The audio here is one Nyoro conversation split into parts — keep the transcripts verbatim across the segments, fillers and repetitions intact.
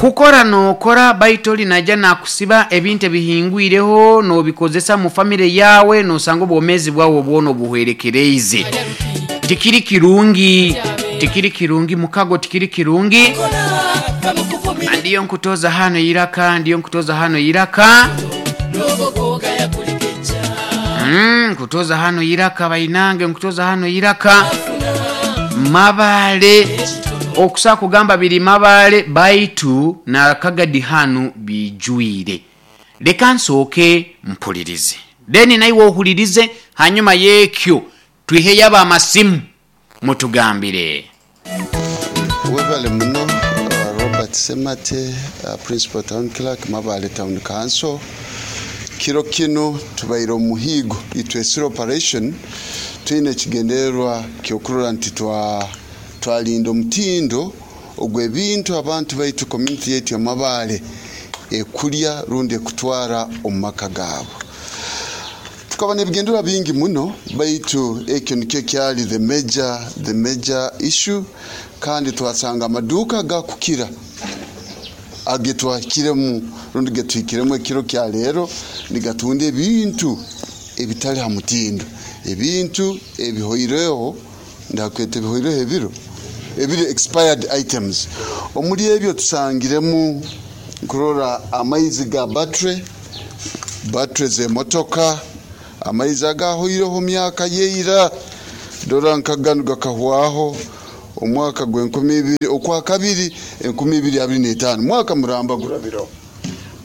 Kukora nokora, baitu oli najja nakusiba ebintu ebihingwireho nobikozesa mu famire yawe, nosanga obwomezi bwawe bwona obuhwerekereize. Tikiri kirungi, tikiri kirungi mukago, tikiri kirungi. Ndiyo nkutoza hano iraka, ndiyo nkutoza hano iraka. Mm, nkutoza hano iraka bainange, nkutoza hano iraka Mabale. Okusa kugamba biri Mabale, baitu nakagadi hanu bijwire. Leka nsooke mpulirize, then naiwe ohulirize, hanyuma yekyo twiheyo abamasimu mutugambire. Webale muno. uh, Robert Semate, uh, Principal Town Clerk, Mabale Town Council. Kiro kino tubaire omuhigo itwesire operation. Twine ekigendererwa kyokurora nti twa twalinda omutindo ogw'ebintu abantu baitu, community yaitu ya Mabale, ekulya rundi ekutwara omu maka gaabo. Tukaba n'ebigendererwa bingi muno, baitu ekyo nikyo kyali the major, the major issue. Kandi twasanga amaduuka gakukira agetwahikiremu rundi getuhikiremu ekiro kya leero nigatunda ebintu ebitali ha mutindo, ebintu ebihoireho, ndakweta ebihoireho ebiro ebiri expired items. Omuri ebyo tusangiremu nkurora amaizi ga battery, battery z'emotoka, amaizi agahoireho myaka yeira. Dora nka ganu gakahwaho omwaka gw'enkumi ibiri okwa kabiri enkumi ibiri abiri n'etaano, mwaka muramba gurabireho.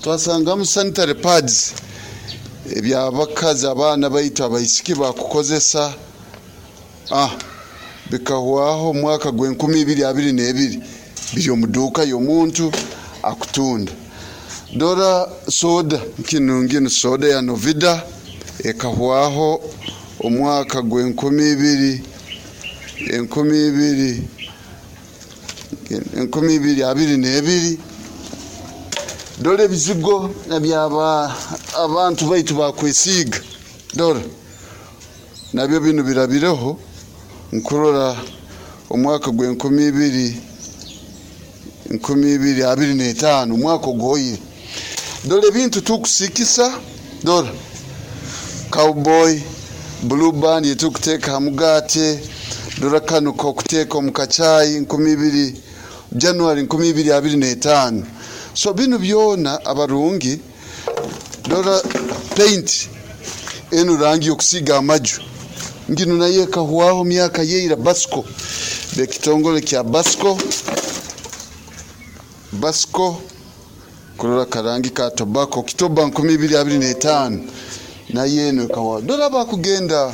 Twasangamu sanitary pads ebyabakazi, abaana baitu abaisiki bakukozesa, ah, bikahwaho omwaka gw'enkumi ibiri abiri n'ebiri, biri omu duuka y'omuntu akutunda. Dora soda kinu, nginu soda ya Novida ekahwaho omwaka gw'enkumi ibiri enkumi ibiri enkumi ibiri abiri n'ebiri. Dora ebizigo ebyaba abantu baitu bakwesiiga, dora nabyo binu birabireho, nkurora omwaka gw'enkumi ibiri enkumi ibiri abiri n'etaano, omwaka oguhoire. Dora ebintu tukusikisa, dora Cowboy, Blue Band yetukuteeka ha mugaate, dora kanu kokuteeka omu kacaayi, nkumi ibiri January nkumi ibiri abiri n'etaano. So binu byona abarungi. Dora paint enu, rangi yokusiiga amaju, nginu nayo ekahwaho myaka yeira, Basco, bekitongole kya Basco. Basco kurora karangi ka tobacco, Okitoba nkumi ibiri abiri n'etaano, nayo eno ekahwaho. Dora abakugenda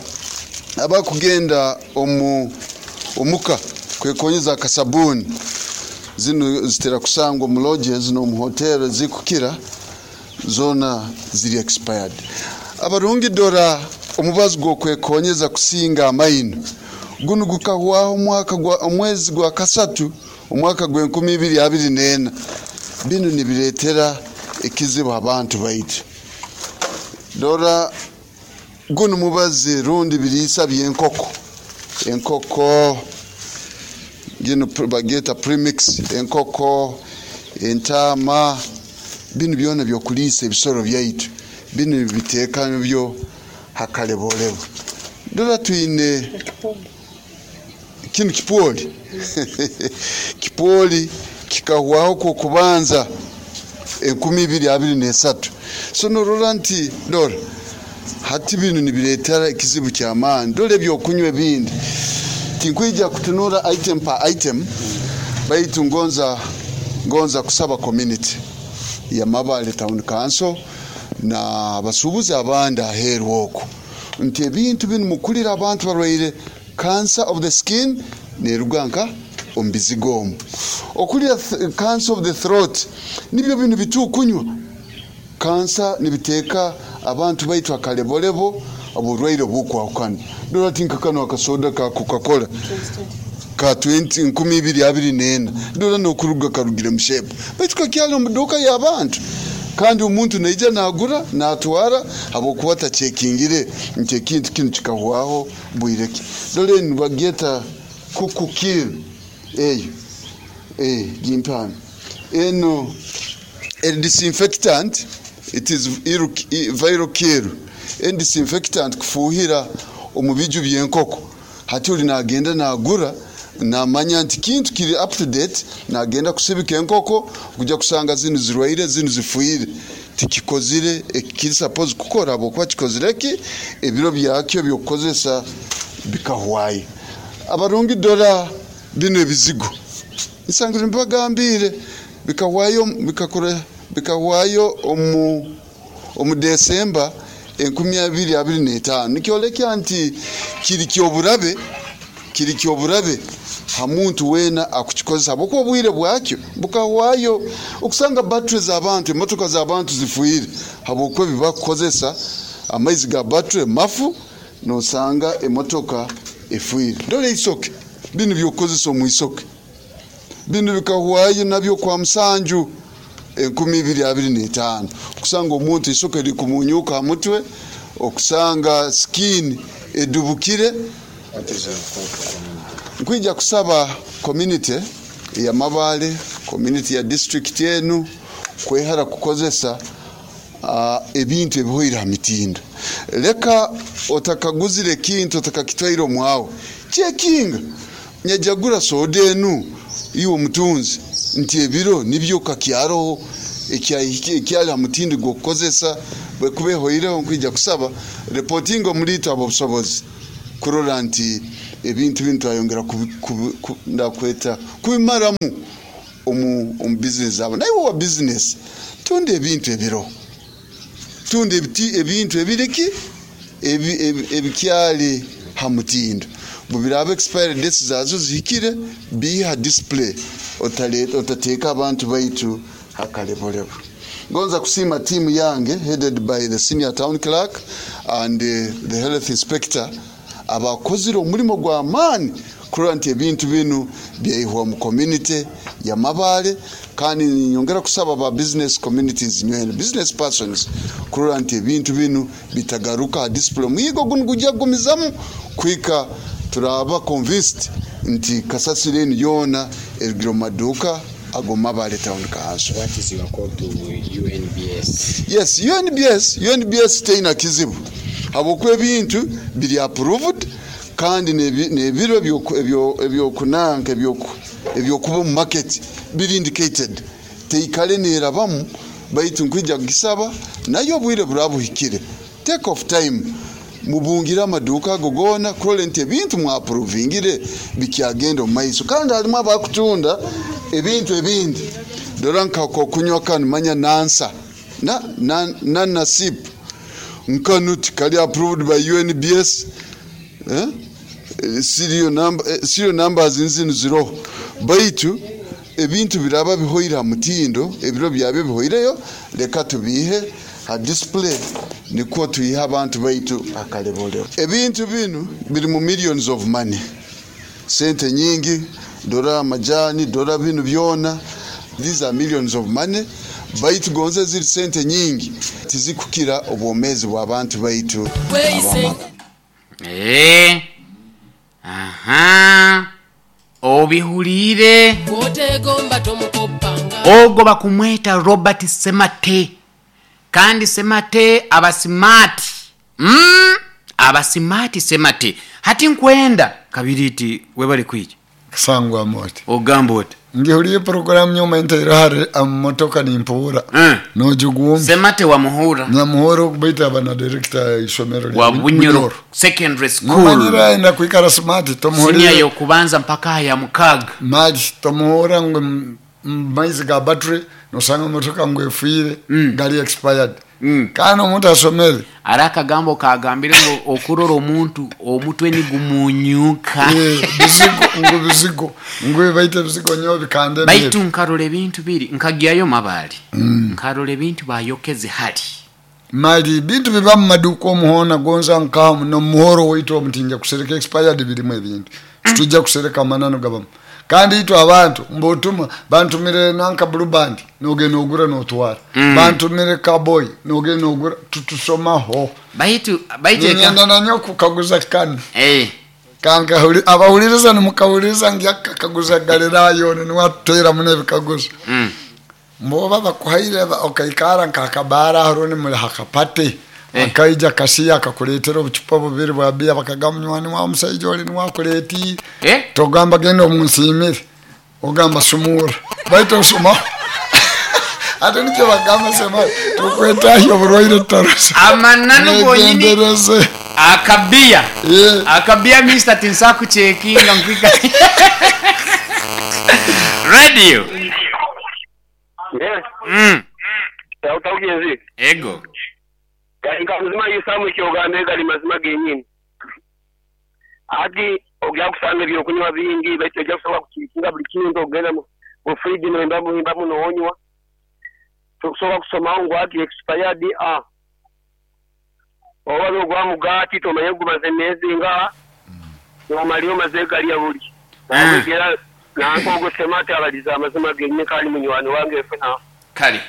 abakugenda omu omuka kwekonyeza akasabuni, zino zitera kusangwa mu lodges n'omu hotel zikukira, zona ziri expired. Abarungi, dora omubazi gw'okwekonyeza kusinga amaino, gunu gukahwaho omwaka gwa omwezi gwa kasatu omwaka gw'enkumi ibiri abiri n'ena. Binu nibireetera ekizibu abantu baitu. Dora gunu mubazi rundi biriisa by'enkoko, enkoko gino bagyeta premix, enkoko, entaama, binu byona byokuliisa ebisoro byaitu, binu biteeka byo hakaleboolebo. Dora twine kinu kipwoli, kipwoli kikahwaho kwokubanza enkumi ibiri abiri n'esatu. So norora nti dora hati binu nibireetera ekizibu ky'amaani. Dora ebyokunywa ebindi, tinkwija kutunura item per item, baitu ngonza ngonza kusaba community ya Mabale Town Council na abasuubuzi abandi aheeru okwo nti ebintu binu mukulira abantu barwaire cancer of the skin, neruga nka omu bizigo omu, okulira cancer of the throat, nibyo binu bitukunywa. Kansa nibiteeka abantu baitu akalebolebo, oburwaire obukwahukana. Dora tinka kano akasoda ka Coca-Cola ka twenty nkumi ibiri abiri n'ena, dora nokuruga karugire mushepu, baitu kakyali omu duuka y'abantu, kandi omuntu naija nagura natwara habwokuba takyekingire nti ekintu kinu kikahwaho bwire ki. Dora enu bagyeta kukukir eyo, eh, gimpano. Eno a disinfectant, it is viral kill. En disinfectant kufuhira omu biju by'enkoko. Hati oli nagenda nagura, namanya nti kintu kiri up to date, nagenda kusibika enkoko kujja kusanga zinu zirwaire, zinu zifuire. Tikikozire ekiri suppose kukora, habwokuba kikozire ki ebiro byakyo byokukozesa bikahwayo. Abarungi dora bino ebizigo nsangire mbagambire bikahwayo, bikakora bikahwayo omu omu Desemba enkumi abiri abiri n'etaano. Nikyolekya nti kiri kyoburabe, kiri kyoburabe ha muntu wena akukikozesa, habwokuba obwire bwakyo bukahwayo. Okusanga battery z'abantu, emotoka z'abantu zifuire habwokuba ebibakukozesa amaizi ga battery mafu, nosanga emotoka efuire. Dora isoke, bino byokukozesa omu isoke, bino bikahwayo nabyo kwa musanju enkumi ibiri abiri n'etaano. Okusanga omuntu isoke likumunyuka ha mutwe, okusanga skin edubukire. Nkwija kusaba community ya Mabale, community ya district enu kwehara kukozesa uh, ebintu ebihoire ha mitindo. Leka otakaguzire ekintu otakakitwaire omwawe, kyekinga nyajagura soda enu iwe omutunzi nti ebiro nibyo kakyaroho ekyali ha mutindo gw'okukozesa. Bwekuba ehoireho, nkwija kusaba reporting omulito abo obusobozi kurora nti ebintu binu twayongera ndakweta kubimaramu omu, omu business abo. Naye wa business tunda ebintu ebiro, tunda ebintu ebiriki ebikyali ha mutindo. Bubiraba expired dates zazo zihikire, biha display, otateka abantu baitu hakalebolebo. Ngonza kusima timu yange headed by the senior town clerk and uh, the health inspector abakozire omulimo gwa amaani kurora nti ebintu binu byaihwa mu community ya Mabale. Kandi nyongera kusaba ba business communities nywene business persons kurora nti ebintu binu bitagaruka display. Muyigo gunu gujja kugumizamu kwika turaba convinced nti kasasiro enu yona erugire mu maduuka ago Mabale Town Council. What is your call to U N B S? Yes, U N B S, U N B S teina kizibu habwokuba ebintu biri approved kandi n'ebiro ebyokunanka ebyokuba mu market biri indicated, teikale nerabamu. Baitu nkwija kugisaba nayo obwire burabuhikire, take off time mubungira amaduuka ago goona kurora nti ebintu mwaprovingire bikyagenda omu maiso. Kandi harimu abakutunda ebintu ebindi, dora nkakokunywa kanu manya nansa na na na nasip nkanu tikali approved by U N B S, eh? Serial number, serial numbers nzinu zero. Baitu ebintu biraba bihoire ha mutindo, ebiro byabyo bihoireyo, leka tubihe ha display niko tuyiha abantu baitu akaleboleo. Ebintu binu biri mu millions of money, sente nyingi, dora amajani, dora binu byona, these are millions of money. Baitu gonze ziri sente nyingi tizikukira obwomezi bw'abantu baitu. Eh, aha, obihulire ogo bakumweta Robert Semate. Kandi Semate abasimati, mm, abasimati Semate hati nkwenda kabiriti webali kwija sangwa moti ogamba oti ngihuliye programu nyuma entera amotoka nimpuura mm. Nojugumbi Semate wa muhura na muhura okubaita abana director isomero wa Bunyoro Secondary School manyira enda kuikara smart tomuhurira senior yokubanza mpaka ya mukaga maji tomuhura ngo maizi ga battery nosanga motoka ngo efuire mm. Gali expired mm. Kana omuntu asomere araka gambo kagambire ngo okurora omuntu omutwe ni gumunyuka eh bizigo ngo bizigo ngo baite bizigo nyo bikande baitu nkarole ebintu biri nkagiyayo Mabali mm. Nkarole ebintu bayokeze hali mali bintu biba mu maduka omuhona gonza nkamu no muhoro waitu omutinja kusereka expired birimu ebintu mm. Tujja kusereka manano gabamu kandi itu abantu mbotuma bantumire nanka blue band nogenda ogura notwara mm. Bantumire cowboy nogenda ogura tutusomaho baitu baitu ngenda nanyo kukaguza kanu eh kanka abahuliriza nimukahuliriza ngyakaguza galirayo niwatera mune bikaguza mm. Mboba bakuhaire okaikara nkakabara haroni muli hakapate. Eh. Akaija kasiya akakuleetera obucupa bubiri bwa bia bakagamba munywani wa omusaija oli niwakuleetiire. Eh? Togamba genda omunsiimire, ogamba sumura baitu osuma ate nikyo bagamba sema tukwetahya oburwaire tutarosa. Amananu gonyini. Mwegendereze. Akabiya. Eh. Akabiya mister tinsakuchekinga nkwika. Radio. Yes. Mm. Utaugenzi. Ego. Kainga mzima yisamu kyogambe gali mazima genyini. Ati ogya kusanga ebyokunywa bingi baitu ojja kusobola kukikinga buli kintu ogenda mu fridge n'emba muhimba muno onywa. Tukusobola kusomaho ngu ati expired a. Oba ogwa mugati tomanye gumaze emyezi nga nomaliyo omaze galya buli. Nagera nanko semate abaliza amazima genyini kandi munywani wange fena. Kale.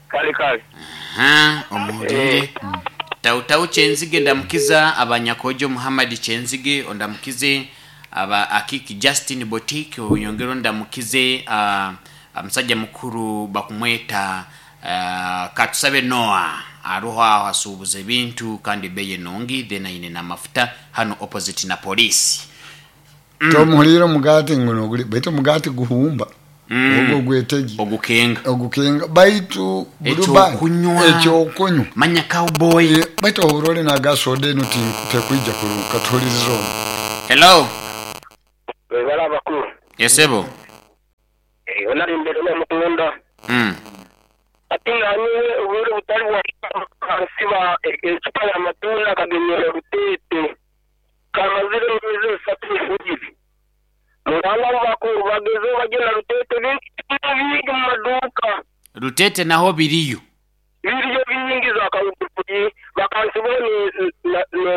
Kale kale. Aha, omuhulire. Tautau Kyenzige ndamukiza abanyakojo Muhammad Kyenzige ondamukize aba Akiki Justin Boutique oyongero ndamukize uh, omusajja mukuru bakumweta uh, Katusabe Noah aruho aho asuubuza ebintu kandi beye nongi then aine n'amafuta hano opposite na police. Mm. Tomuhulire omugati nguno guli baitu omugati guhumba. Mm. Ogwo gwetegi. Ogukenga. Ogukenga baitu buluba Ekyokunywa. Ekyokunywa. Manya cowboy. E, baitu ohurole na gasoda eno tekuija kuruka tuhulirize ono. Hello. Webala bakuru. Yesebo. Eh onali mbere n'omukunda. Mm. Ati ngani obure butali bwa kansiba ekipa ya matunda kagenyera rutete. Kamazire mizi esatu efugire. Mwana bakuru bageze bagenda rutete bingi bingi mu maduka. Rutete naho biriyo. Biriyo bingi za kawukuyi bakansibone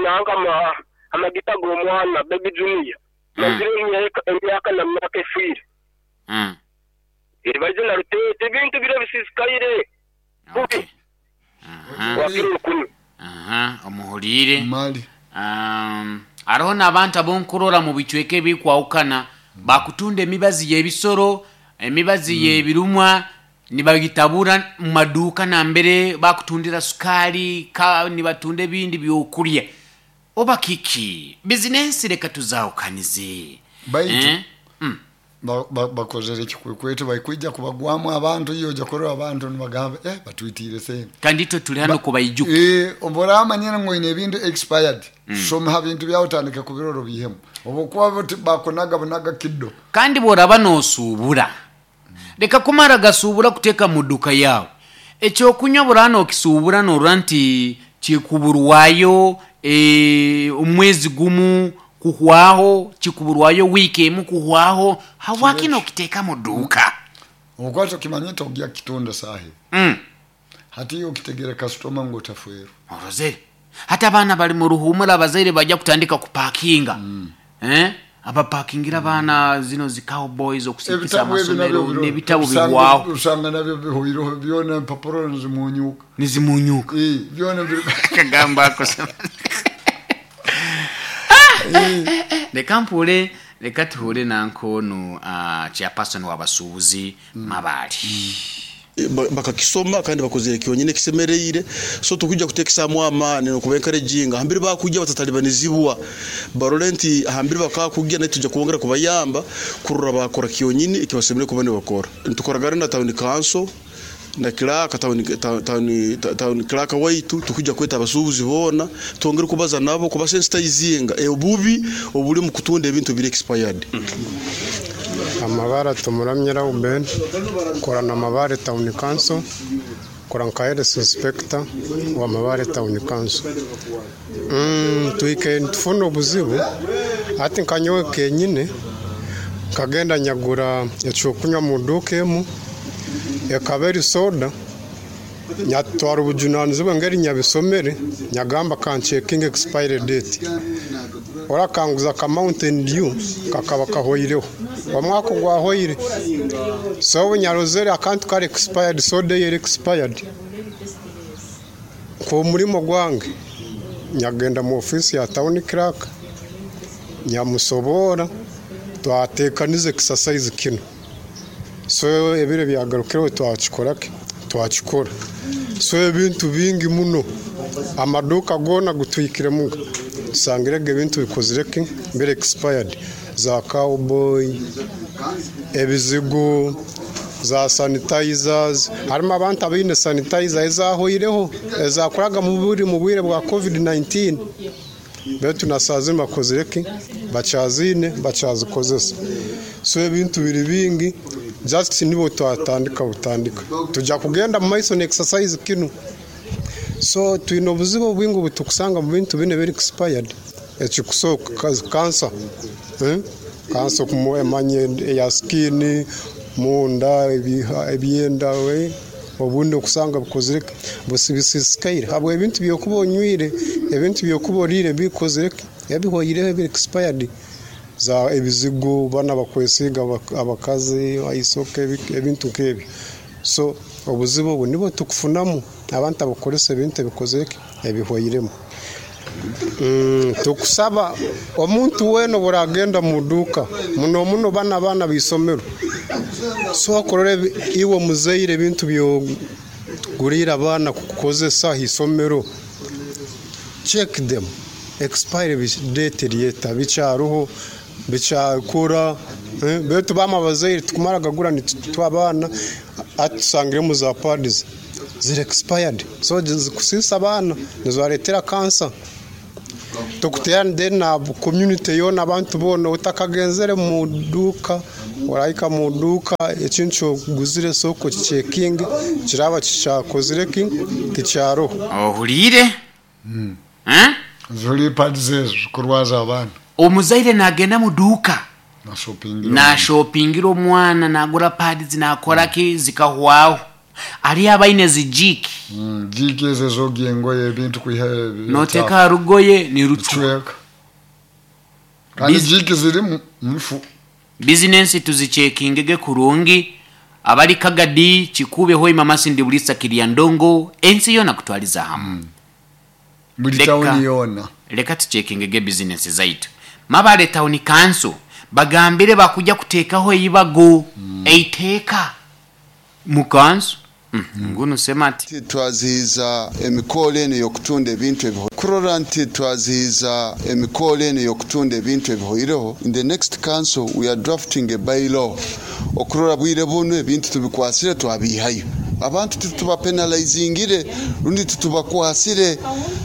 na ma amagita g'omwana baby junior. Mazire emyaka na myaka efwire. Mm. Eri bagenda rutete bintu biro bisisikaire. Okay. Aha. Aha, omuhulire. Mali. Um, aroho n'abantu abonkurora mu bicweka ebikwawukana bakutunda emibazi y'ebisoro, emibazi mm. y'ebirumwa nibagitabura mu maduuka nambere bakutundira sukali ka nibatunda ebindi byokulya. Oba kiki bizinensi reka tuzawukanize. Baitu eh? mm. bakozere ekikwekweto baikwijja kubagwamu abantu iyo ojja kurora abantu nibagamba eh batwitiire sente kandi itwe tuli hano kubaijuka. Eh obora amanyene ngo ine ebintu expired. Mm. Soma ha bintu byawe otandike kubirora bihemu obukuba bakonaga bunaga kiddo kandi boraba nosuubura leka kumara gasuubura kuteeka mu dduka yawe ekyokunywa burano okisuubura norora nti kikuburwayo e, omwezi gumu kuhwaho kikuburwayo wiiki emu kuhwaho hawaki nokiteeka mu dduuka okwata okimanye togya kitunda sahi. Mm. Hati okitegere kasitoma ng'otafweru orozere hati abaana bali mu ruhumura abazaire bajja kutandika kupakinga. Mm. Eh? Abapakingira abaana zino zi cowboys okusikisa amasomero n'ebitabo usanga- bigwaho usanga nabyo bihuireho byona empapuro nizimunyuka nizimunyuka Eh, byona biri kagamba ako leka mpule leka tuhure nankono uh, chairperson w'abasuubuzi Mabaale. Ba- bakakisoma kandi bakozere kyonyine kisemereire so tukujja kutekisamu amaani nokuba encouraging hambiri bakujja batatalibanizibwa barole nti hambiri bakakujja naye tujja kubongera kubayamba kurora bakora kyonyine ekibasemere kuba nibakora ntukoragana na town council na clerk town town town clerk waitu tukujja kweta abasuubuzi boona twongere kubaza nabo kubasensitizinga obubi obuli mu kutunda ebintu biri expired. Amabara tumuramye Reuben korana Mabare Town Council kora nka health inspector wa Mabare Town Council. Mm, twike tufuna obuzibu ati nkanyowe kenyine nkagenda nyagura ekyokunywa mu duka emu ekaba eri soda nyatwara obujunanizibwa ngeri nyabisomere nyagamba kanchecking expiry date orakanguza ka Mountain Dew kakaba kahoireho omwaka gwahoire so nyarozere akantu kari expired soda yeri expired ku murimo gwange nyagenda mu office ya town clerk nyamusobora twatekanize exercise kino So ebiro byagarukireho twakikora ki? Twakikora. So ebintu bingi muno, amaduka gona gutwikiremu, tusangirege ebintu bikozire ki? Biri expired, za cowboy, ebizigo, za sanitizers. Harimu abantu abaine sanitizer ezahoireho, ezakoraga mu buri mu bwire bwa covid nineteen, betu na saa zinu bakozire ki? Bakyazine, bakyazikozesa. So ebintu biri bingi, just nibo twatandika butandika, tujja kugenda mu maiso n'exercise kinu. So twine obuzibu bwingi obutukusanga mu bintu bine biri expired. Ekikusooka kansa, eh? Kansa emanye eya skin, munda, ebyenda, we obundi okusanga bukozire busibisikaire habwe ebintu byokuba onywire, ebintu byokuba orire bikozire ebihoireho ebiri expired, za ebizigo bana bakwesiga abakazi aisoke ebintu nk'ebyo. So obuzibu obu nibo tukufunamu abantu abakoresa ebintu ebikozire ebihoiremu. Mm, tukusaba omuntu wena buragenda mu duka muno muno bana bana bisomero, so akorore iwe muzeire ebintu byo gurira abana kukozesa isomero, check them expire date ryeta bicaruho bicyakura. eh, betu bama bazeire tukumara gagura ni twabana atusangire mu za pads ziri expired, so zikusisa abana nizaretera cancer. Tukutera then na community yona abantu bona utakagenzere mu duka, oraika mu duka ekintu guzire soko checking kiraba kicakozire ki kicyaro ohulire mm. eh zuri pads kurwaza abana. Omuzaire nagenda mu duka na shopping na shoppingira omwana nagura pads nakora ki zikahwaho ali abaine zijiki mm, jiki ezo zogengo ebintu kuiha noteka rugoye ni ruchweka kandi jiki ziri mfu business tuzichekingege kurungi. Abali Kagadi Kikube hoi mama sindi bulisa kiria ndongo ensi yona kutwaliza hamu mm. Buli town yona leka tuchekingege business zaitu. Mabale Town Council bagambire bakuja kutekaho eyibago mm. eiteka mu council. Mm. Nguno semati twazihiza emikolo eno y'okutunda ebintu ebiho kurora nti twazihiza emikolo eno y'okutunda ebintu ebihoireho. In the next council we are drafting a bylaw okurora bwire buno ebintu tubikwasire twabihayo abantu tutubapenalizingire rundi tutubakwasire.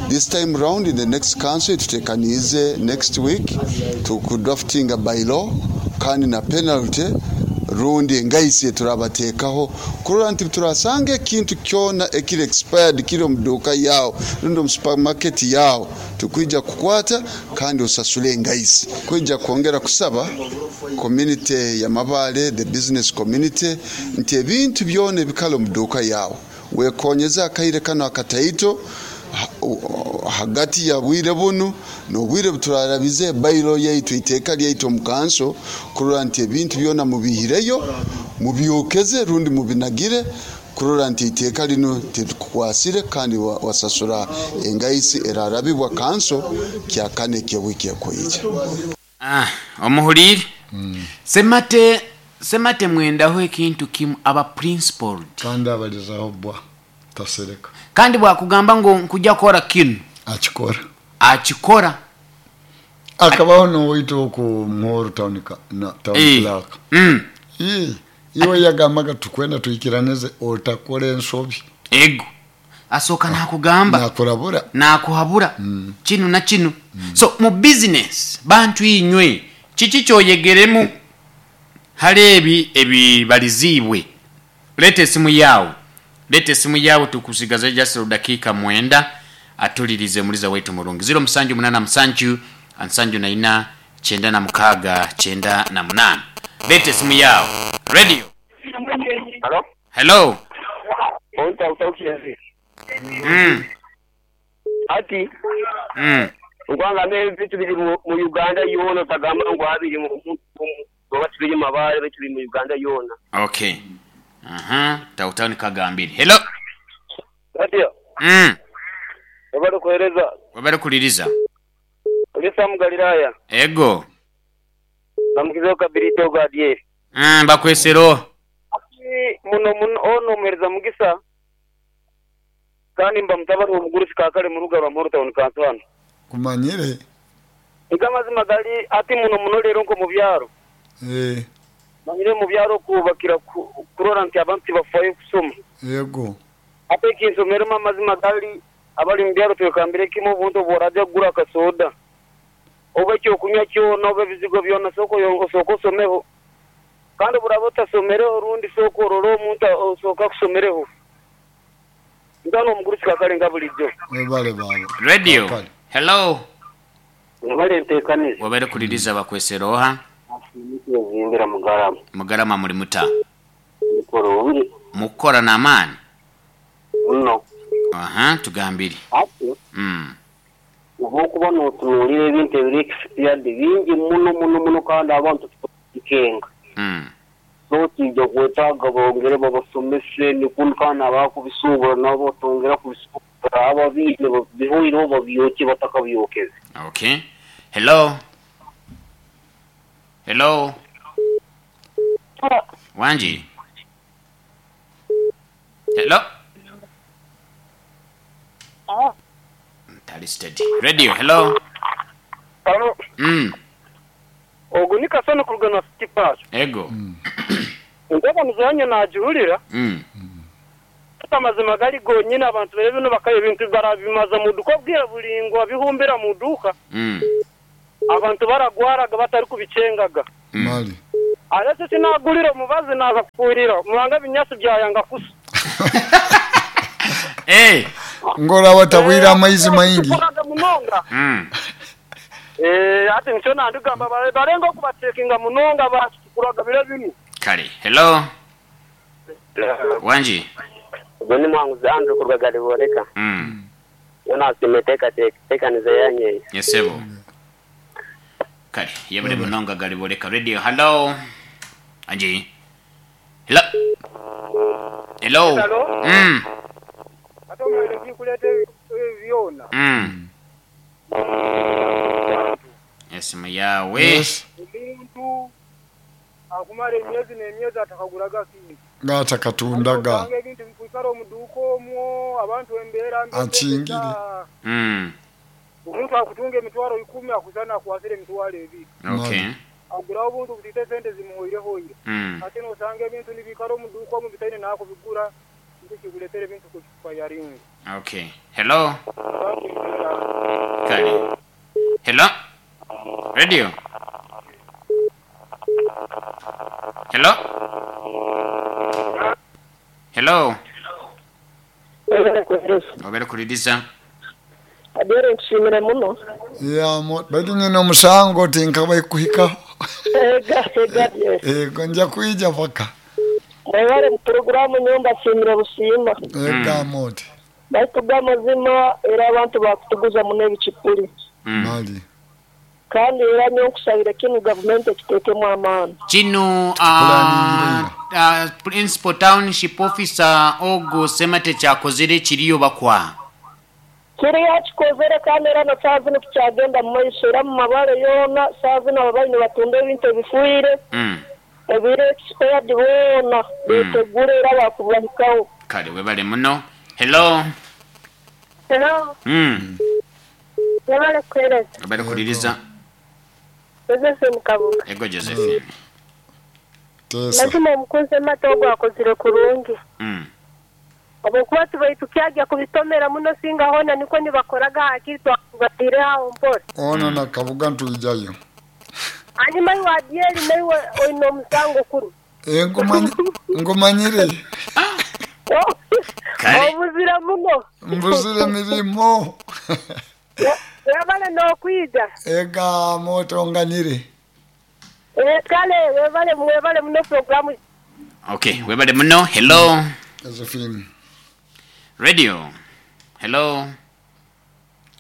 This time round in the next council tutekanize next week tukudrafting a bylaw kandi na penalty rundi engaisi turabatekaho kurora nti turasanga ekintu kyona ekiri expired kiri mu duka yao rundi mu supermarket yao tukwija kukwata kandi osasule engaisi. Kwija kwongera kusaba community ya Mabale, the business community, nti ebintu byona ebikalo mu duka yao wekonyeza akaire kano akataito hagati ya bwire bunu n'obwire buturarabize bayiro yaitu iteka lyaitu mu kanso kurora nti ebintu byona mubihireyo mubyokeze rundi mubinagire kurora nti iteka lino tetukwasire kandi wasasura engaisi erarabibwa kanso kyakane kyewiki yakoija. Ah, omuhulire mm. Semate semate mwendaho ekintu kimu aba principled kandi abalizaho bwa tasereka kandi bwakugamba ngo nkujja kora kinu akikora akikora akabaho n'owaitu oku Muhoro town na town clerk mm. Ii iwe yagambaga tukwenda tuikiranize otakora ensobi ego asoka nakugamba nakurabura nakuhabura mm. Kinu na kinu mm. So mu business bantu inywe kiki kyoyegeremu halebi ebibalizibwe. Lete simu yao, lete simu yao tukusigaze just dakika mwenda atulirize muliza wetu mulungi zero musanju munana musanju ansanju na ina chenda na mukaga chenda na munana. Lete simu yao. Radio. Hello. Hello. Onta utaukienzi. Mm. Ati. Mm. Ngwanga ne vitu biri mu Uganda yona tagama ngo abiri mu ngo biri mabare bitu biri mu Uganda yona. Okay. Aha, tautani kagambiri. Hello. Radio. Mm. Wabali kueleza. Wabali kuliriza. Ulisa Mugalilaya. Ego. Namukizeo kabirito gadie. Mm, bakwesero. Muno muno ono omuhereza mugisa kandi mba mutabani w'omugurusi kakale muruga rwa Muhoro Town Council hano. Kumanyire. Ega amazima gali ati muno muno leero nko mu byaro. Eh. Manyire mu byaro kubakira kurora nti abantu bafayo kusoma. Yego. Ate kinsomero amazima gali abali mu byaro twekambire kimu obuntu bworaja kugura akasoda. Oba ekyokunywa kyona oba ebizigo byona soko osooka osomeho. Kandi buraba otasomereho orundi sooka orore omuntu osooka akusomereho. Ndano omugurusi kakale nga bulijjo. Webale baba. Radio. Hello. Webale nteekaniza. Webale kuliriza bakwesera oha? Zimbira Mugarama. Mugarama muri muta. Mukurungi. Mukora n'amaani? Muno. Aha, tugambire. Ati. Mm. Obwokuba n'otunuulira ebintu ebiri expired bingi muno muno muno kandi abantu tukikenga. Mm. So kijja kwetaaga bongere babasomese nikundi kandi abakubisuubura nabo tongera kubisuubura ababiine bihoireho babyokye batakabyokeze. Okay. Hello. Hello. Wanji. Hello. Tali steady. Radio. Hello. Hello. Mm. Ogu ni Kasano kuruga na City Park. Ego. Mm. Ndaba muzanyo najuhurira. Mm. Amazima gali gonyine abantu bere bino bakaye ebintu barabimaza mu duka bwira bulingwa bihumbira mu duka. Mm. Abantu baragwaraga batari kubicengaga. Mm. Mali. Aretse sinagulira mubazi naza kufuirira muranga binyasi byayanga kusa. Eh. Ngora watabwira amaizi maingi. Mm. Eh ati ncho nandugamba barenga kubatekinga munonga bakuraga bire bino. Kale. Hello. Wanji. Ubwo ni mwanguzi Andrew kurwaga liboreka. Mm. Yona simeteka tekaniza yanye. Yesebo. Kale, yebale munonga galiboreka radio. Hello. Anji. Hello. Hello. Hello. Mm. Ato mwele kulete byona. Mm. Yes mayawe. Yes. Omuntu akumara emyezi n'emyezi atakaguraga kintu. Ngatakatundaga. Ebintu bikuikara omuduuka omwo abantu embeera mbi. Akingire. Mm. Omuntu akutunga emitwaro ikumi akuzana akwasire emitwaro ebiri. Okay. Agura obuntu butite sente zimuhoirehoire. Mm. Ate nosanga ebintu nibikara omuduuka omu bitaine naakubigura nikyo kikuleetera ebintu kukifayaringa. Okay. Hello. Kale. Hello. Radio. Hello. Hello. Obere kuliriza. Adere nshimire muno. Ya mo bali nyina omusango tinkabaye kuhika. Ega ega yes. Ego nja kuija paka. Mwebale mu programu nyumba shimire bushima. Ega moti. Baitu amazima era abantu bakutuguza muno ebicupuri. Mali. Kandi era nyokusabira kinu gavumenti ekitekemu amaani. Kino uh, uh, Principal Township Officer Ogo Semate kyakozere kiriyo bakwa. Kiriyo kikozere kandi era na saa zino tukyagenda mu maiso era mu mabare yoona saa zino ababaine batunda ebintu ebifuire. Mm. Ebire expired boona betegure era bakubahikaho. Kale webale muno. Hello. Hello. Mm. Webale kuhereza. Webale kuliriza. Josephine Kabuga. Ego Josephine. Lazima omukunze mata ogwo akozire kurungi. Mm. Obukuba tubaitu kyajya kubitomera muno singa hona niko nibakoraga hakiri twakubatire aho mpora. Ono na Kabuga ntuijayo. Hanyuma iwadyeri naiwe oine omusango kuru. Eh ngumanye ngumanyire. Kale. Obuzira muno. Mbuzire mirimo. Webale n'okwija. Ega moto nganyire. Eh kale webale webale muno programu. Okay, webale muno. Hello. Josephine. Radio. Hello.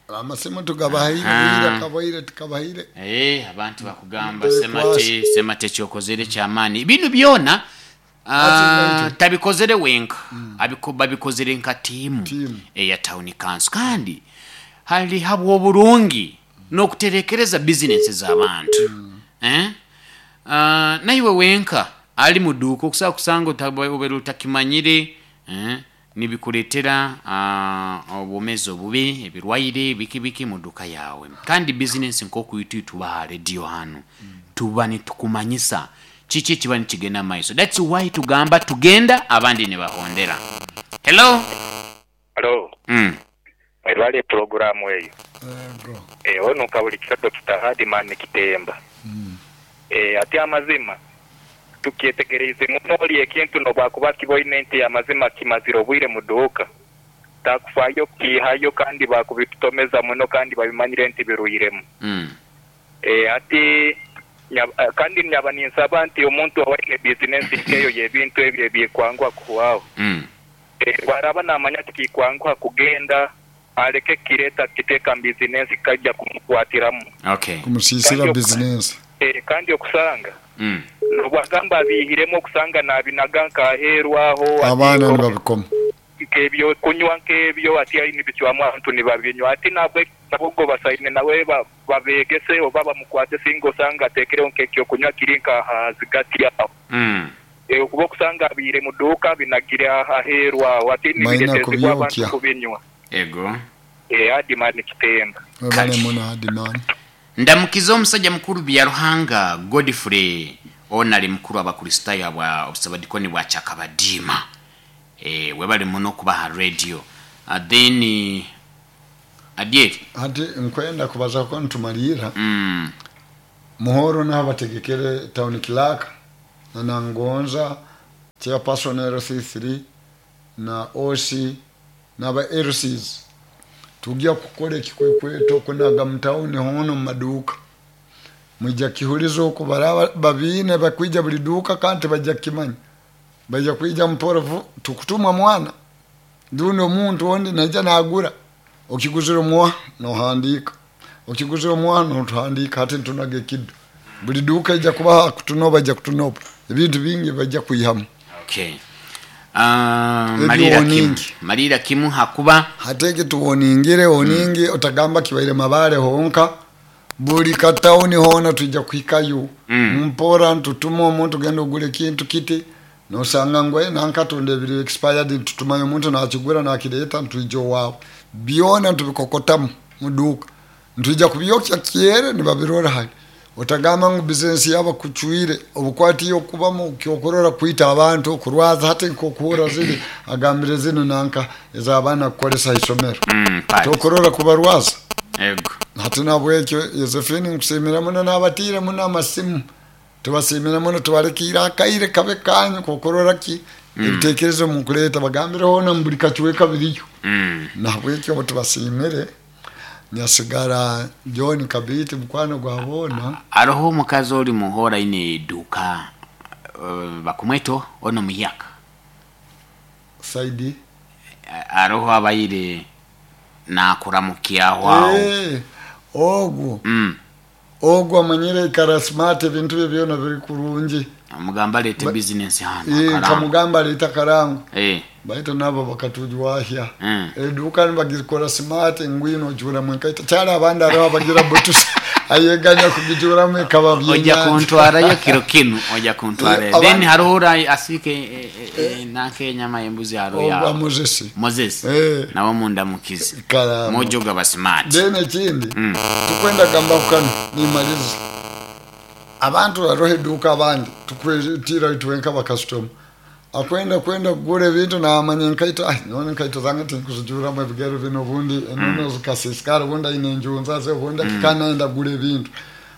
Amasimu tugabahaire bwira kabaire tukabahaire. Eh abantu bakugamba semate semate kyokozere kyamaani. Binu byona uh, tabikozere wenka. Mm. Abiko babikozere nka tiimu eya town council kandi hali habwo burungi n'okuterekereza business z'abantu. Mm. Eh? Uh, naiwe wenka Ali muduuka okusobola kusanga obeera otakimanyire, eh, nibikuleetera uh, obwomeezi obubi, ebirwaire biki biki mu duka yawe. Kandi bizinesi nk'okuitu tuba ha radio hano tuba nitukumanyisa kiki kiba nikigenda maiso. That's why tugamba tugenda abandi nibahondera. Hello. Hello. Mm. Mwebale programu eyo. Ego. Eh, ono kabulikiro Doctor Hardman Kitemba. Mm. Eh, ati amazima tukyetegereze muno oli ekintu nobwakuba kiboine nti amazima kimazira obwire mu duuka takufayo kihayo kandi bakubitutomeza muno kandi babimanyire nti biruiremu. Mm. Eh, ati nyab, kandi nyaba ninsaba nti omuntu owaine bizinesi nkeyo y'ebintu ebyo ebyekwangwa kuhwaho. Mm. Eh, bwaraba namanya tikikwanguha kugenda aleke kireta kiteka bizinesi kajja kumukwatiramu. Okay. Kumusisira bizinesi. Eh, kandi okusanga Mm. nobwagamba abihiremu okusanga nabinaga nkaherwaho abaana nibabikoma nkebyo kunywa nkebyo ati ayi nibicwamu abantu nibabinywa ati nabwe nabwo basaine nawe babegese oba bamukwate singa osanga atekereho nkekyo kunywa kiri nkahazigati aho. Mm. E, okuba okusanga abihire mu duuka binagire aherwaho ati nibiretezibwa abantu kubinywa. Ego. E, Hardman Kitemba. Webale muno Hardman. Ndamukiza omusajja mukuru Byaruhanga Godfrey onali mukuru abakristaayo abwa obusabadikoni bwa Chakabadima. Eh, webale muno kuba ha radio. Uh, then adieri ati nkwenda kubaza ko ntumalira. Mm. Muhoro n'abategekere town clerk na Nangonza chairperson L C three na O C n'aba L Cs tujya kukora ekikwekweto kunaga mutauni hono mu maduuka mwijja kihulizo okubaraba babiine bakwija buli duuka kandi bajja kimanya bajja kwija mporovu tukutumwa mwana duno omuntu ondi naija nagura okiguzira omwa nohandika okiguzira omwa notuhandika hati ntunaga ekiddo buli duuka ijja kubaha kutunoba ijja kutunoba ebintu bingi bajja kwihamu. Okay. Uh, malira kimu malira kimu hakuba hateke tuwoningire woningi mm. Otagamba kibaire mabale honka buli katauni hona tujja kuhikayo. Mm. Mpora ntutuma omuntu genda ogule kintu kiti nosanga ngwe nankatonda ebiri expired tutumayo omuntu nakigura nakireta ntujja wawe byona ntubikokotamu muduka ntujja kubyokya kyere nibabirora hali otagamba ngu bizinesi yaba kuchwire obukwati okubamu kyokorora kwita abantu kurwaza hati nkokuhura ziri agambire zino nanka ez'abaana kukolesa isomero. Mm, tokorora kubarwaza. Ego. Hati nabwekyo Josephine nkusimira muno n'abatire muno amasimu tubasimira muno tubalekira akaire kabe kanyu kokorora ki Mm. ebitekerezo mukuleta bagambire hona mbuli kachiweka biriyo. Mm. Nabwekyo tubasimire nyasigara John Kabiti mukwano gwabona aroho omukazi oli muhora ine eduka uh, bakumweto ono muyaka saidi aroho abayire nakuramukiaho aho. Eh, ogwo Mm. ogwo amanyire ikara smart ebintu bye byona biri kurungi omugamba alete Ba- business hano Eh, akarango. kamugamba aleta karango Eh. baito nabo bakatujwahya Mm. eduka nibagikora smart ngwino ojura mwenkaita cyari abandi ariho abagira butusi ayeganya kugijuramu ikaba ojja byenyanja kuntwarayo kiro kinu ojja kuntwarayo. Eh, Then abandi- hariho ora asike eh, eh, eh, nanke enyama y'embuzi hariho ogwa ya Moses Moses Eh. nawe mundamukize Karamo. mojo gaba smart. Then ekindi Mm. tukwenda gamba kukano nimaliza abantu barohe eduka abandi tukwetira itwenka bakasitoma akwenda kwenda kugura ebintu namanya enkaito ai none enkaito zange tinkuzijuramu ebigero bino obundi enono zikasisikara obundi aine enjunza ze obundi akikanaenda kugura ebintu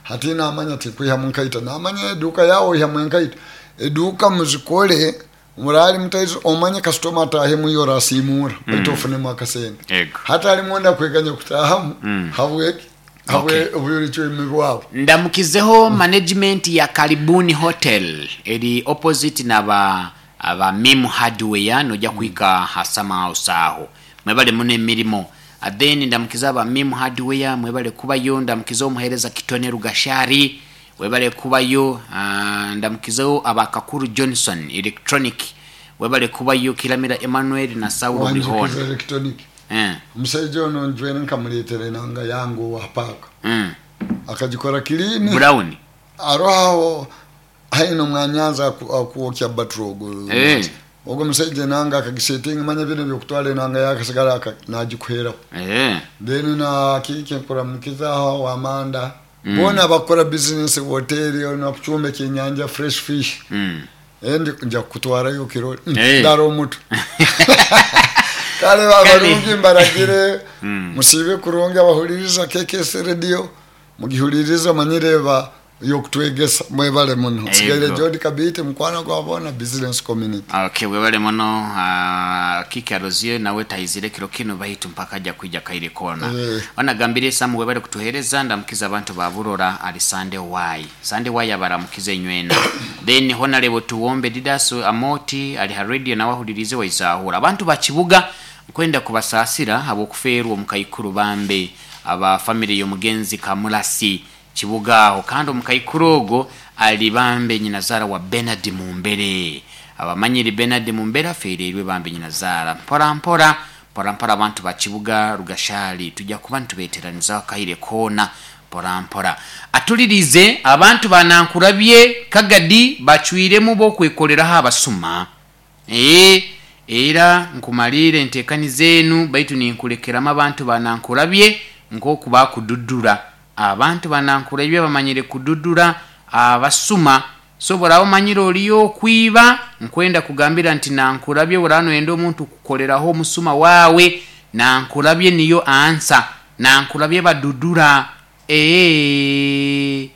hati namanya tikwihamu nkaito namanya eduka yawe oihamu enkaito eduka muzikole murali mutaizo omanye kasitoma atahemu iyo orasimura baitu ofunemu akasente Ego. hata alimwenda kweganya kutahamu Mm. habweki habwe obuyulichwemi bwabo. Ndamukizeho management ya Karibuni Hotel eri opposite naba aba Mim Hardware nojja kuhika hasama house aho mwebale muno emirimo. Then ndamukiza aba Mim Hardware mwebale kubayo. Ndamukiza omuhereza Kitone Rugashari webale kubayo. Uh, ndamukizeho aba Kakuru Johnson Electronic webale kubayo. Kiramira Emmanuel na Saulo Wanjikiza Bihona. electronic Eh. omusajja ono njwene nkamuleetera enanga yange owa paaka Mm. akagikora kilini Brown. aroho Haino mwanyanza akuokya batro ogo. Eh. Ogo musajja nanga akagisetinga manya bino byokutwala enanga yakasigala nagikuhera. Eh. Then na kiki nkora mukiza wamanda. Mm. Bona bakora business hotel ono kuchumba kenyanja fresh fish. Mm. Endi nja kutwarayo kiro hey. Daro mutu. Kale abarungi mbaragire mm. Musibe kurungi abahuliriza K K S radio mugihuliriza manyireba yokutwegesa mwebale muno. Sigaire Jodi Kabite mukwana gwabona business community. Okay, webale muno uh, Kiki Arozie nawe taizire kiro kino bahitu mpaka ajja kuija kaire kona. Eh. Wanagambire Samu webale kutuhereza ndamukiza abantu baburora ali Sunday Y. Sunday Y abaramukize nywena. Then Honorable Tuwombe Didaso Amoti ali ha radio na wahulirize waizahura. Abantu bakibuga kwenda kubasasira abokufeerwa omukaikuru bambe aba family y'omugenzi Kamulasi Kibuga aho kandi omukaikuru ogo ali bambe nyinazara wa Bernard Mumbere. Abamanyiri Bernard Mumbere afererwe bambe nyinazara mpora mpora mpora mpora abantu bakibuga Rugashali tujja kuba ntubeteraniza kaire kona mpora mpora atulirize abantu banankurabye kagadi bacwiremu bo kwekoleraho abasuma eh era nkumalire entekani zenu baitu ninkulekeramo abantu banankurabye nkoku bakududura abantu banankurabye bamanyire kududura abasuma so burawo manyire oliyo okwiba nkwenda kugambira nti nankurabye burano enda omuntu kukoleraho omusuma wawe nankurabye niyo ansa nankurabye badudura ee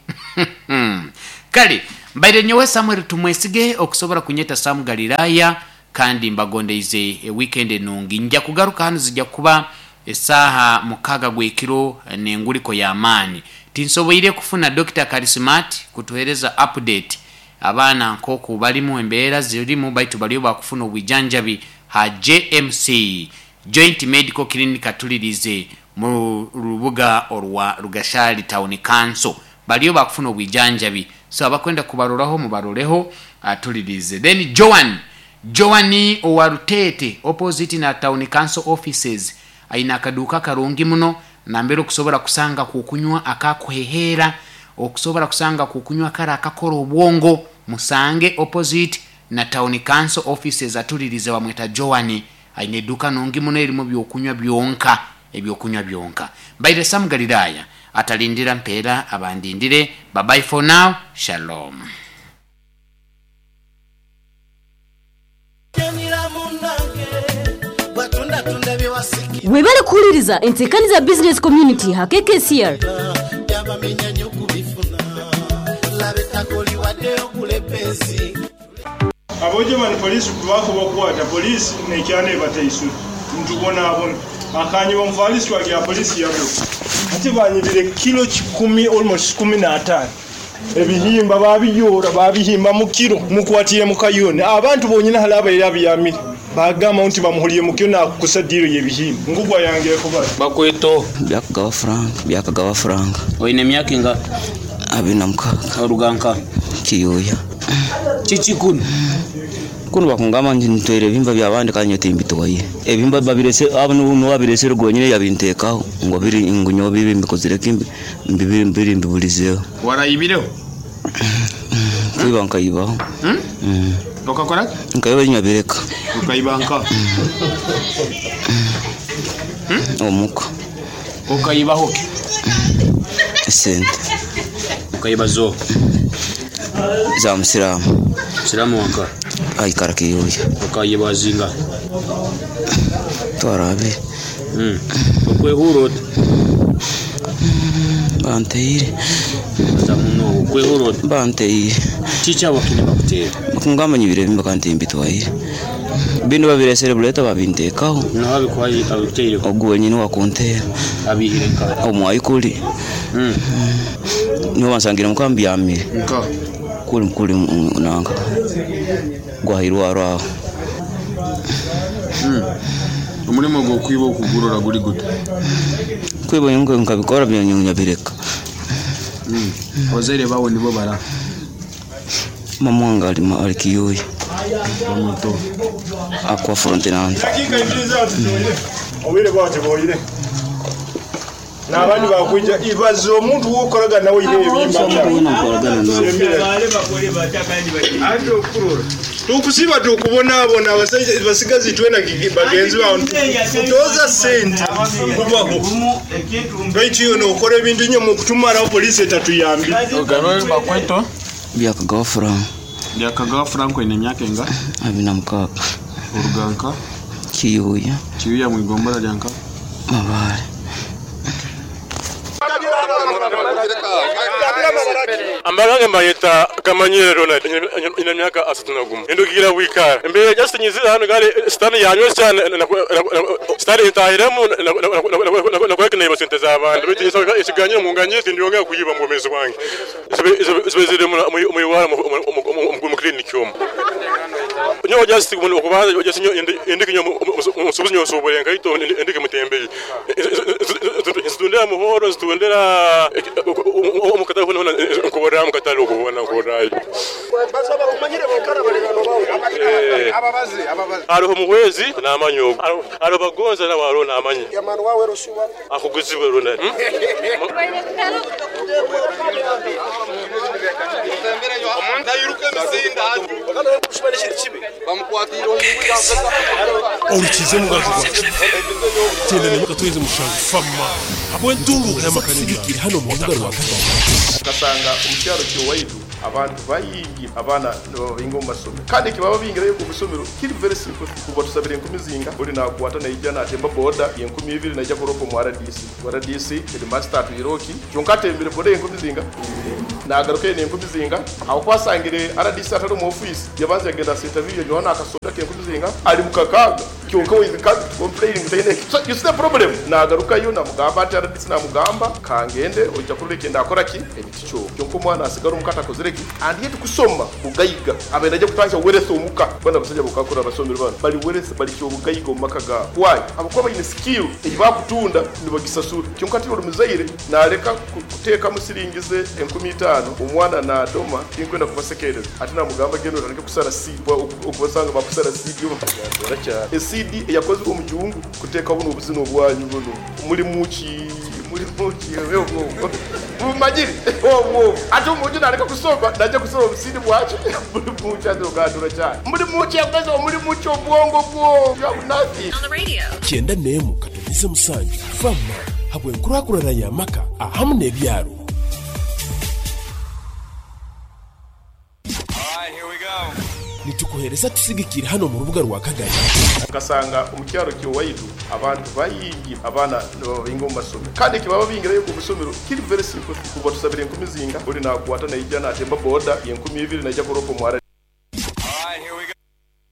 kale mbaire nyowe Samuel Tumwesige okusobora kunyeta Sam Galilaya kandi mbagondeize e weekend enungi nja kugaruka hano zijja kuba esaha mukaga gwekiro nenguliko ya maani tinsoboire kufuna Doctor Karismat kutuhereza update abaana nkoku balimu embeera zirimu baitu baliyo bakufuna obwijanjabi ha J M C Joint Medical Clinic atulirize mu rubuga orwa Rugashali Town Council baliyo bakufuna obwijanjabi so abakwenda kubaroraho mubaroreho atulirize. Then Joan Joani owarutete opposite na Town Council offices aina akaduka karungi muno nambere okusobola kusanga kukunywa akakuhehera okusobola kusanga kukunywa kara akakora obwongo musange opposite na Town Council offices atulirize bamweta Joani aina eduka nungi muno erimu byokunywa byonka ebyokunywa byonka. Baire Sam Galilaya atalindira mpera abandindire. Bye bye for now. Shalom. Webale kuhuliriza entekani za business community ha K K C R. Abojemani polisi kubako bakwata polisi nekyane bataisu ntubona abona akanye bomfalisi wa polisi yabo ate banyibire kilo kikumi almost kumi na tano ebihimba babiyora babihimba mu kilo mukwatire mu kayone abantu bonyina halaba era biyamire bagamba nti bamuhuliye mu kilo nakusadiro yebihimba ngugwa yange kuba bakweto byakagawa frank byakagawa frank oyine myaka inga abina mukaka oruganka kiyoya chichi kuno kuno bakungama ntwere ebihimba byabandi kandi nyotimbitwaye ebihimba babirese abo no babirese rwonyine yabintekaho ngo biri ngunyo bibi mbikozire kimbi mbibiri mbiri mbibulizeho warayibireho kwiba nkayibaho hmm? mm. Okakora nkayiba nyabireka ukayibanka hmm? Omuka ukayibaho sente ukayibazo za musiramu musiramu wanka aikara kiyoya ukayibazinga twarabe mm okwehuro banteire zamuno okwehuro banteire chicha wakine bakutera bakungamba nyibire bimba kandi mbitwaire bino babiresere buleta babintekaho no abikwaye abiteire ogwo nyine wakuntera abihire nka omwayi kuli mm niho bansangira mukambi yamire nka kuli kuli nanga gwahirwa aho mm umurimo gwo kwiba okugurora guri gute kwiba ngo nkabikora byanyunya bireka mm abazaire bawe nibo bara mama wange ali ali kiyoya muto akwa frontinante dakika ibiri zatu tuire obire bwate boyire. N'abandi bakwija ibaza omuntu wokoraga nawe ine ebimba. Tukusiba tukubonaabona abasajja basigazi twena bagenzi bawe kutoza sente kubaho baitu iyo nokora ebintu nyo mukutumaraho polisi etatuyambi. Ogabe bakweto Byakagawa Frank. Byakagawa Frank ine emyaka enga? Abiri na mukaaga. Oruganka? Kiyuya. Kiyuya mwigombora lyanka? Mabare. Ambagange mbayeta Kamanyire Ronald ina myaka asatu na gumu indukira wikara mbere just nyizira hano gari stani yanywe cyane stani itahiremo nakweka sente z'abandi bitu ikiganiro munganye sindiyongera kuyiba mu mezi wange zibezire mu iwara mu clinic yomo nyo just okubanza just nyo indiki nyo musubuzi nyo sobolenga ito indiki mutembeye zitundera muhoro zitundera omukatale hona nkuborera mukatale okubona nkuborayo basaba kumanyire bakara baligano bawo ababazi ababazi hariho muhwezi namanyo hariho bagonza nawe hariho namanyi yamanu wawe rusuba akuguzibwe rona Orukize mugajo gwacu tenda nemuka tuyenze mushango fama habwe ntunguka y'amakanigikiri hano mu rubuga rwa Kagame. Ugasanga omukyalo kyowaitu abantu bayingi abaana nibababinga omu masomero kandi ekibaba bingirayo ku busomero kiri very simple kuba tusabira enkumi zinga ori nakwata naija natemba boda enkumi ibiri naija kuropa omu R D C R D C headmaster atwiroki kyonka atembere boda enkumi zinga nagaruka ene enkumi zinga aho kwasangire R D C atari omu office yabanza yagenda interview yanyoha akasoda kenkumi zinga ari mukakaga kyonka with complaining taine. So you see the problem nagarukayo namugamba ati R D C namugamba kangende ojja kureka ndakora ki ebiti kyo kyonka omwana asigara omukata akozire ki and yet kusoma bugayiga abenda ajja kutandika weresa omuka bana basajja bokakora abasomero bano bali weresa bali kyo bugayiga omumaka ga why abakuba bayine skill eyibakutunda nibagisasura kyonka ati omuzaire naleka kuteeka musiringize enkumi itaano omwana nadoma tinkwenda kubasekereza ati namugamba genda otandike kusara seed okubasanga bakusara seed yo esidi eyakozwe omujungu kuteeka buno obuzina obwanyu buno muli muki muli muki obwo bumanyire obwo ate omuntu naleka kusoma najja kusoma obusidi bwaki muli muki azogadura cyane muli muki yakoze muli muki obwongo bwo you have nothing Kyenda nemu katonize musanju fama habwe nkurakurana y'amaka ahamu n'ebyaro. Nitukuhereza tusigikire hano mu rubuga rwa Kagame. Ugasanga omukyalo kyowaitu abantu bayingi abaana nibababinga omu masomero kandi ekibaba bingirayo ku busomero kiri very simple kuba tusabira enkumi zinga ori nakwata naija natemba boda enkumi ibiri naija kuropa omu R